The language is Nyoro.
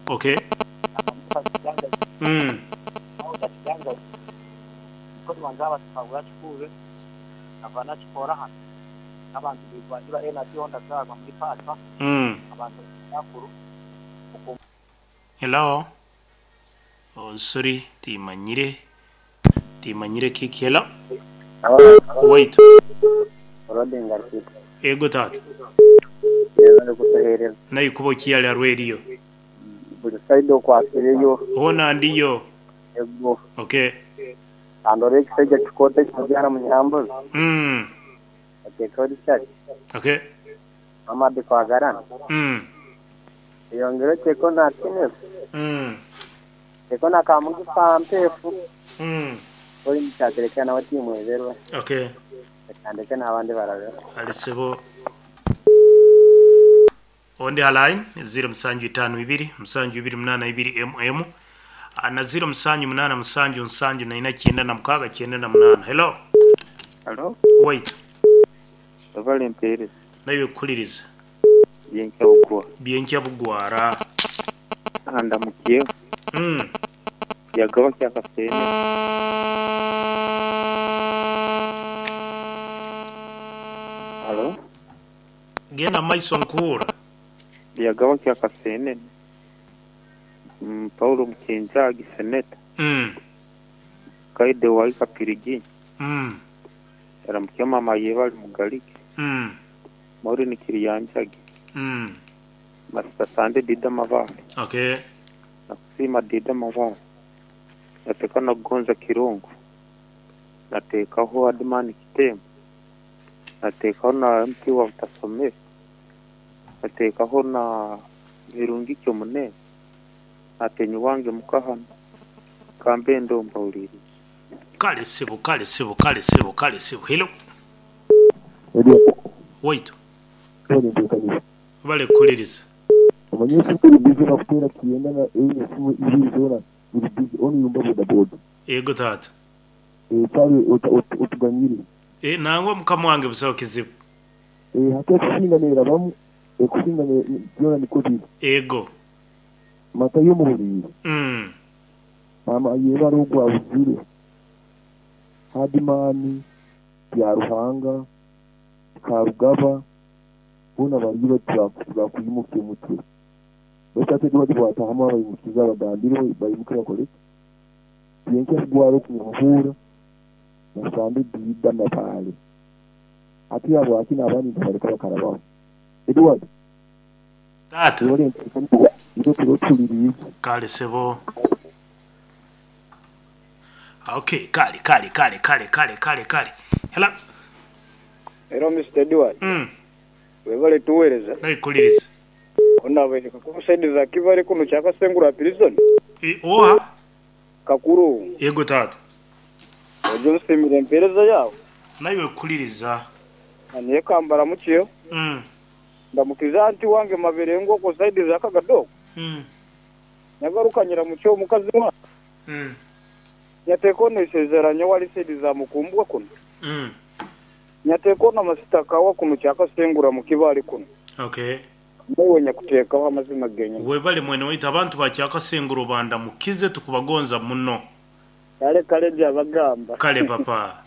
Okay. Hello. Oh, sorry, timanyire. Timanyire kiki. Hello. Wait. Ego tata. Naye kuba okiyali arweriyo. Buli side okwasireyo. Hona ndiyo. Ego. Okay. Andora ekisajja kikooto ekimubyara munyambuzi. Ateekaho Richard. Okay. Mamadi Kwagarana. Eyongere oteeko na Kenneth. Oteeko na Kamugisha Mpeefu. Ori mukyatereka nawe timweberwe. Okay. Reka ndeke n'abandi barabeho. Ale sebo. Ondi line 0752 728 mm na 0787 7 96 98. Hello. Hello. Wait. Ovale mpereza. Nayo kuliriza. Byenkya bugwa. Byenkya bugwara. Andamukiye. Yagaba kyakasene. Hello. Genda maiso nkura. Yagaba kyakasene. Paulo Mukinjagi seneta. Kaide wa Ikapirigi. Aramukiye mama yebali mugalike. Maureen Kiriyanjagi. Masita Sande Dida Mavale. Okay. Nakusima Dida Mavale. Nateka na Gonza Kirungu. Natekaho Admani Kitembo. Natekaho na MP wa Butasomero. Natekaho na Birungi Kyomunene. Natenyi wange mukahano. Kambe ndomba uliri. Kale sebo, kale sebo, kale sebo, kale sebo. Hello. Wait. Bale kuliriza. Amanyesi kuri busy nakutera kiyenda na esimu ibiri zona uri busy oni yumba boda boda. Ego tata. Pale utuganyire. Nangwa mukama wange busaho kizibu. Hata kusinganira bamu kusinganira byona niko biri. Ego. Mata yo mu buriri. Mama yeba rugwa buzire. Hadimani ya Ruhanga Karugaba bona bari bakuyimukiye mutwe. Basate bari bwatahama bayimukiza bagambire bayimuke bakore. Byenke gwaro kuhura. Nasambe dida mapale. Ati abo akina abandi bareka bakarabaho. Edward. Tata. Kale sebo. Okay, kale kale kale kale kale kale kale. Hello. Hello Mr. Edward. Webale tuwereza. Nayikuliriza. Onabere kakusaidiza kivale kuno kyakasengura prison. Oha. Kakuru. Yego tata. Ojo nsimire mpereza yawe. Nawe kuliriza. Niye kambara mukiyo. Ndamukiza anti wange maberengo ko saidiza akagadoko. Nagarukanyira mukiyo mukazi wa. Nyateko nesezeranya wali saidiza mukumbwa kuno. Nyateko na masitaka wa kuno kyakasengura mukibali kuno. Okay. Mwe nyakutekaho amazima genye. Webale mwene waita abantu bakyakasengura banda mukize tukubagonza muno. Kale kale jabagamba. Kale papa.